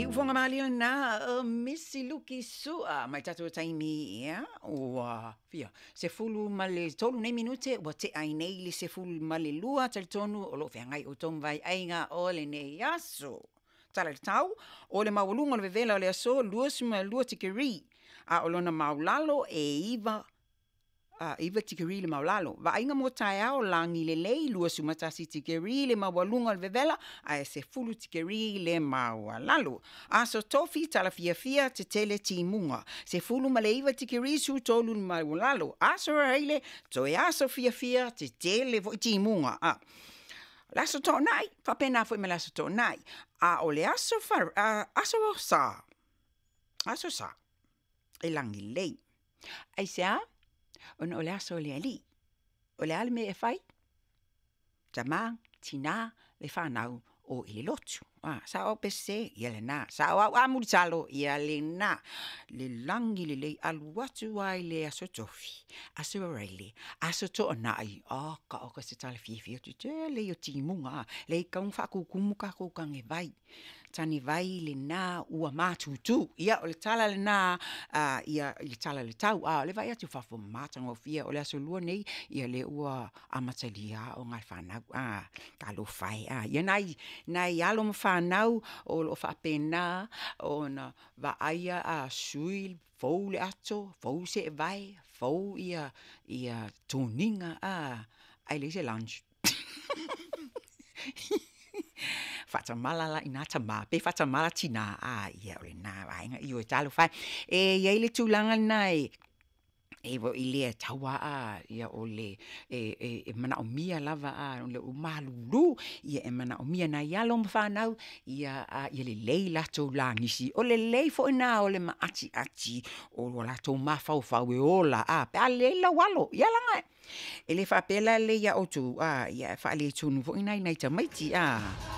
Iufoga malie lena o Misi Luki Su'a mai tatou taimi, ia, ua fia 13 nei minute ua tea ai nei le 12. Talitonu o loo feagai outou ma vaeaiga o lenei aso. Tala i le tau, o le maualuga o le vevela o le aso 22 tikeri, a o lona maulalo e 9 9 tikeri le maulalo. Vaaiga mo taeao, lagi lelei, 21 tikeri le maualuga o le vevela, ae 10 tikeri le maualalo. Aso Tofi, tala fiafia, tetele timuga, 19 tikeri su 3 le maualalo. Aso Raile, toe aso fiafia, tetele foi timuga. A le aso Toonai, faapena foi ma le aso Toonai. A o le aso aso Sa, aso Sa e lagi lelei. Aisea? Ona o le aso o le Alii. O le a le mea e fai? Tamā, tinā, le whanau o i le lotu. Ah, sa o pese, ia le nā. Sa o au amulitalo, ia le nā. Le lagi lelei alu atu ai le aso Tofi, aso Raile, aso Toonai. Oh, ka o ka se tala fiafia tu tele i o timuga. Le i kaunga whaakukumu ka koukange vai. Tani vai le nā ua mātūtū. Ia, o le tala le nā, ia, i le tala le tau. A, o le vai atu fafo matagofie o le aso Lua nei, ia le ua amatalia o ngā whanau. A, ka lo whai. A, ia nai, nai alo ma whanau o lo whaapena o na vaaia a sui fou le ato, fou se vai, fou ia, ia tōninga, a, ai le se lunch. Faatamala la ina tamā, pe faatamala tinā, a, ia o lenā vaega i o e talofa e. E iai le tulaga lenā e, e i lea taua a, ia o le e manaomia lava a, o le malulu, ia e manaomia nai alo ma whanau, ia a, ia lelei latou lagisi. O lelei foi nā o le maatiati o lo latou mafaufau e ola, a, pe a lelei lau alo, ia laga e le faapea la lelei ia outou, a, ia e faaletonu foi nai nai tamaiti, a.